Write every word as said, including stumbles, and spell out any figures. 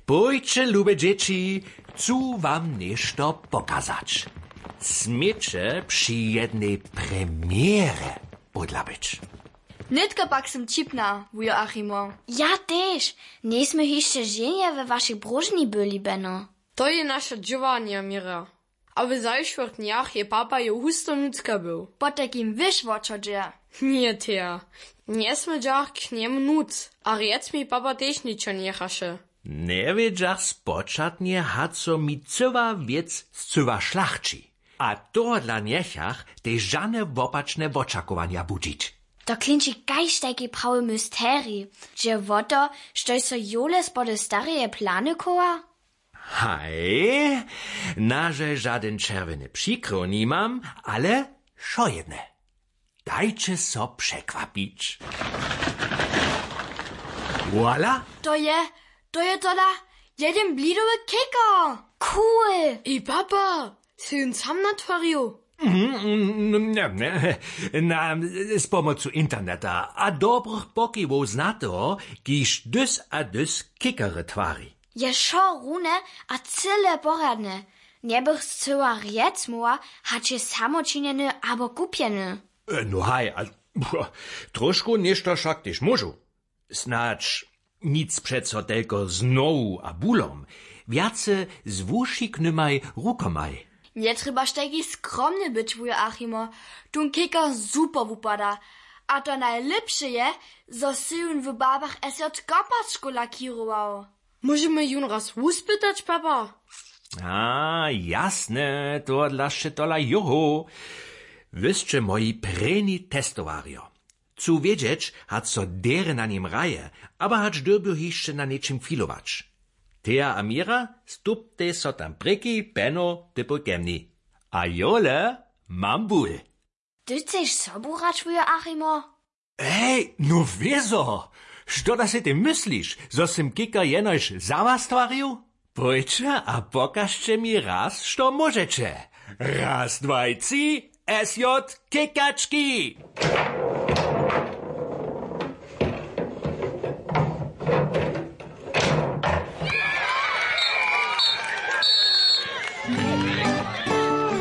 Pójće, lube dźěći, chcu wam něšto pokazać. Směće při jednej premjerje pódla być. Nětko pak sym ćipna, wujo Achimo. Ja tež. Njejsmy hišće ženje we wašej bróžni byli, beno. To je naše dźěłanje, měra. A w zašłych dnjach je papa jo husto nutřka był. Potajkim wěš wo čo dźe. Njeteja. Njesmědźach k njemu nutř. A rjec mi papa tež ničo njechaše. Njewědźach spočatnje, haco mi cyła wěc scyła šlachći. A tohodla njechach tež žane wopačne wočakowanja budźić. To klinči kaž tajki prawy mysterij. Dźe wo to, štož so jole spody stareje plany chowa? Haj, nažel žadyn čerwjeny přikryw nimam, ale wšojedne. Dajće so překwapić. Voilà. To je, to je tola jedyn blidowy kekar. Cool. Ej papa, sy jón sam natwarił? Na, z pomocu interneta a dobrych pokiwow znateho, kiž dys a dys kikary twari. Je wšo rune a cyle porjadne. Njebych scyła rjec móhła, hač je samočinjeny abo kupjeny. No haj, a tróšku něšto wšak tež móžu. Snadź nic přeco telko z nohu a bulom, wjace z wušiknymaj rukomaj. Njetrjebaš tajki skromny być, wujo Achimo. Tón kekar super wupada. A to najlěpše je, zo sy jón w barbach sj kopačkow lakěrował. Móžemy jón raz wuspytać, papa? A jasne, tohodla sće tola joho. Wy sće moji prěni testowarjo. Chcu wědźeć, hač so derje na nim hraje, abo hač dyrbju hišće na něčim filować. Teja a měra, stuptej so tam prěki, peno, typoj ke mni. A jole, mam bul. Ty chceš sobu hrać, wujo Achimo? Hej, no wězo. Što da sej ty mysliš, zo sym kikar jenož za was twarił? Pójće a pokažće mi raz, što móžeće. Raz, dwaj, tři, sj kikački.